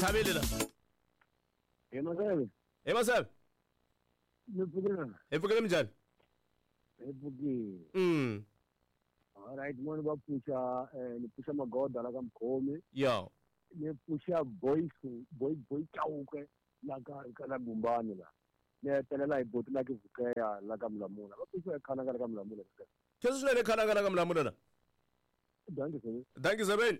Ntlhaveli la. Hi Maseve. Hi Maseve. Ni pfukile. Hi pfukile minjhani? Hi pfukile. All right, moni va pfuxa ni pfuxa Magoda la ka Mkhomi. Yo. Ni pfuxa Boy Boy Boy Chauke la ka la Gumbani la. Ni hetelela hi boti la ke Vukeya la ka Mulamula. Va pfuxa khana ka la ka Mulamula. Khensa swinene khana ka la ka Mulamula la. Dankie Zebeni. Dankie Zebeni.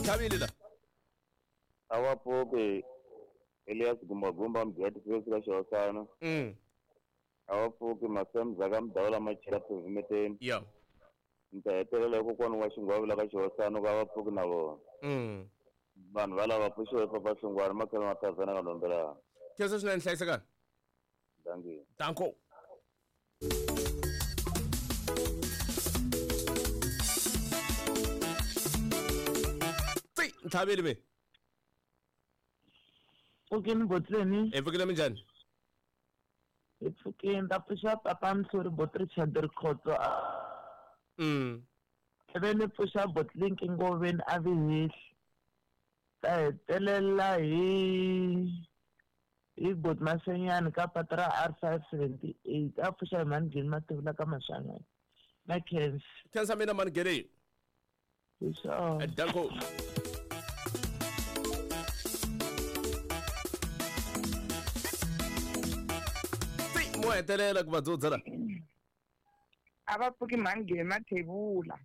Thabile la. Awa pfuki Elias Gumbagumba mujati fesi ka Xihosana. Awa pfuki Masemza ka Mdawula Machela Phevimeteni. Yeah. Ni ta hetelela hi kokwana wa Xingwavi la ka Xihosana ka va pfuki na vona. Vanhu va lava pfuxiwe Papa Hlungwani makhelo ma tavhena ka Ndombelana. Khensa swinene hlayisekani. Dankie. Danko. Ntlhaveli me. Pfukeni botleni. Hi pfukile minjhani? Hi pfukeni ta pfuxa papa Mhluri bot Richard Rikhotso. Ivi ni pfuxa botlinki Ngoveni a vi hehli. Ta hetelela hi bot Masenyani ka patu ra R578 a pfuxa hi Mangheni Mativula ka Maswanganyi. Na khensa. Khensa mina Mangheni. Hi swona. Danko. Mo hetelela ku va dzudza la. A va pfuki Mangheni Mathebula.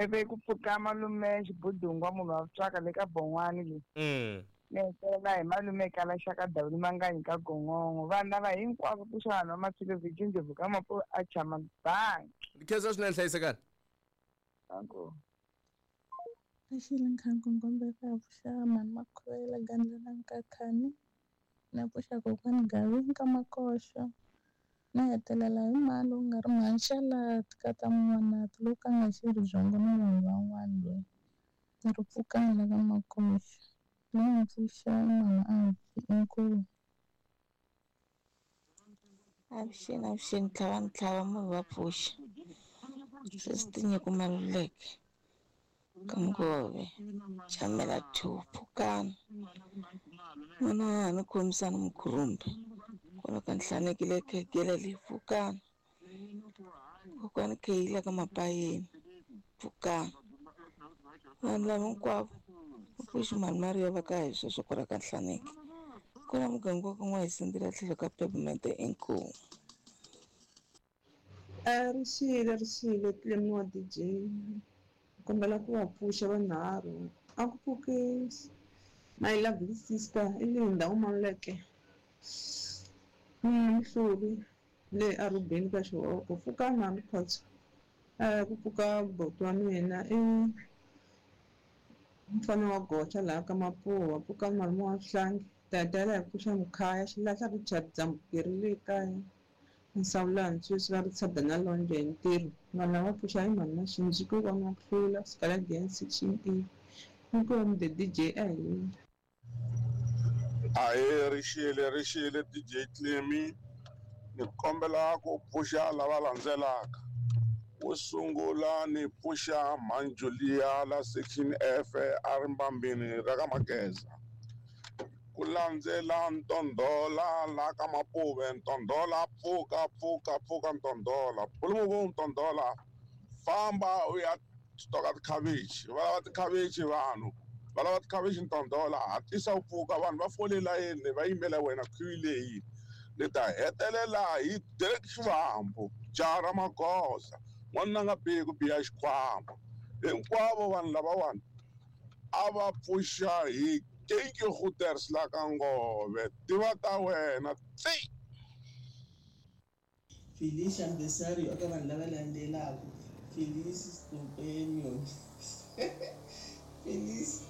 Ivi ku pfuka malume Xibudungwa munhu wa vutswaka le ka Bon'wani le. Ni hetelela hi malume Kala Xaka Dawuli Manganyi ka Gongongo. Vanhu lava hinkwavo pfuxa vanhu va Maphilo Virginia ka Mapu a Chama Bank. Khensa swinene hlayisekani. Danko. Axile nkhanku ngombe ka pfuxa mhani Makhuvela Gandla na Nkakhani. Na pfuxa kokwani Gavin ka Makoxo. Na hetelela hi mali u nga ri mhani Xalati ka ta Mun'wanati loko a nga xi ri byongo na vanhu van'wana loyi. Ni ri pfukani la ka Makoxo. Loyi pfuxa mama Avi inkomu. Avuxeni avuxeni ntlhava ntlhava munhu va pfuxa. Sweswi Tinyiko Maluleke ka Ngove Chamela 2 Pfukani. N'wana ni khomisana Mukhurumbi kwala ka Nhlanekile Khegele le Pfukani. Kokwani Kheyila ka Mapayeni Pfukani. Vanhu lava hinkwavo va pfuxi mhani Mariya va ka hi sweswo kwala ka Nhlaneki. Kwala muganga wa ka N'wahisindila tlhelo ka Peppermint inkomu. Rixile rixile Clemi wa DJ. Kombela ku va pfuxa vanharhu. A ku pfuki my lovely sister i Linda Maluleke. Mhluri le Arubeni ka Xihoko. Pfuka mhani Khotso. Ku pfuka boti wa mina i mfana wa Gocha laha ka Mapuwa. Pfuka malume wa Hlangi. Dadala hi pfuxa Mkhaya Xilahla Richard Dzambukeri le kaya. Nsawulani sweswi va ri tshada na London hi ntirho. Vanhu lava pfuxa hi mhani Maxinji ku va Mahlula Skaladian section A. Inkomu the DJ a hi. Ahee rixile rixile DJ Clemi. Ni kombela ku pfuxa lava landzelaka. Wo sungula ni pfuxa Mhani la section F a ri mbambini ra ka Mageza. Ku landzela Ntondhola la ka Mapuve. Ntondhola pfuka pfuka pfuka Ntondhola. Pulumuku Ntondhola famba u ya stoka tikhavichi. Va lava tikhavichi vanhu. Va lava tikhavichi Ntondhola hatlisa u pfuka vanhu va fole layeni va yimela wena queue leyi. Ni ta hetelela hi Derek Xivambu jaha ra Magoza n'wanuna nga bihi ku biha xikhwama. Hinkwavo vanhu lavawani a va pfuxa hi Kenki Goeters la ka Ngove tiva ta wena tsi. Felicia Mbesario eka vanhu lava landzelaka. Felice Companion. Felice.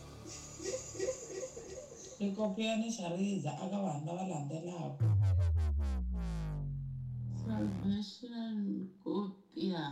Rikopiyani Xariza eka vanhu lava landzelaka. Salvation Kopia.